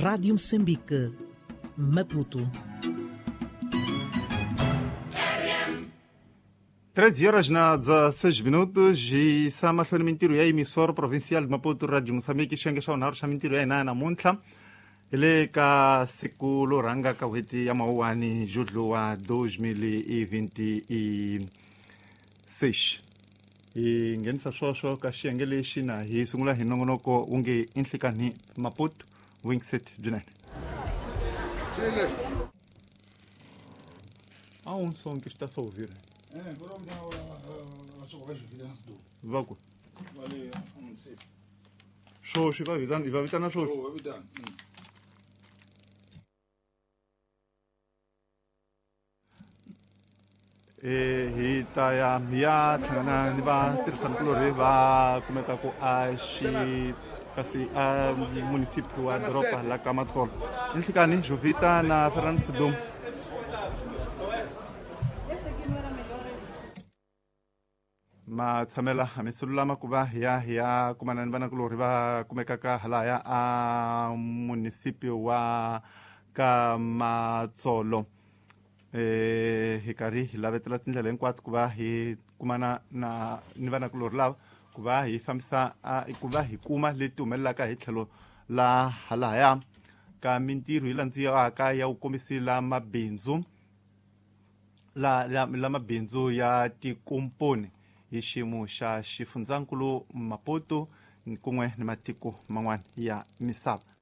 Rádio Moçambique, Maputo. 13 horas na 16 minutos e sa mahlweni mintirho ya emissora provincial de Maputo Radio Moçambique xiyenge xa vunharhu xa mintirho ya hina namuntlha hi le ka siku lo rhanga ka n'hweti ya mawuwani judlu wa 2026 hi nghenisa swoswo ka xiyenge lexi na hi sungula hi nongonoko wu nge i nhlikani Maputo wingset byinene a wu nsonke swi ta so ouvir. Va ku swoswi va vitana, va vitana swoswi. Hi ta ya hi ya hlangana ni vatirhisanikulorhi va kumekaku a xi kasi a municipio wa doroba la ka Matsolo i nhlikani Jovita na Fernando Sudum. Matshamela hamisi lulama ku va hi ya hi ya kumana ni vanakulorhi va kumekaka halaya a municipio wa ka Matsolo. Hi karhi hi lavetela tindlela hinkwato ku va hi kumana na ni vanakulorhi lava ku va hi fambisa ku va hi kuma leti humelelaka hi tlhelo la halahaya ka mintirho yi landziwaka ya ku kombisila mabindzu la la, la mabindzu ya tikomponi hi xiyimo xa xifundzankulu Maputo kun'we ni matiko man'wana ya misava.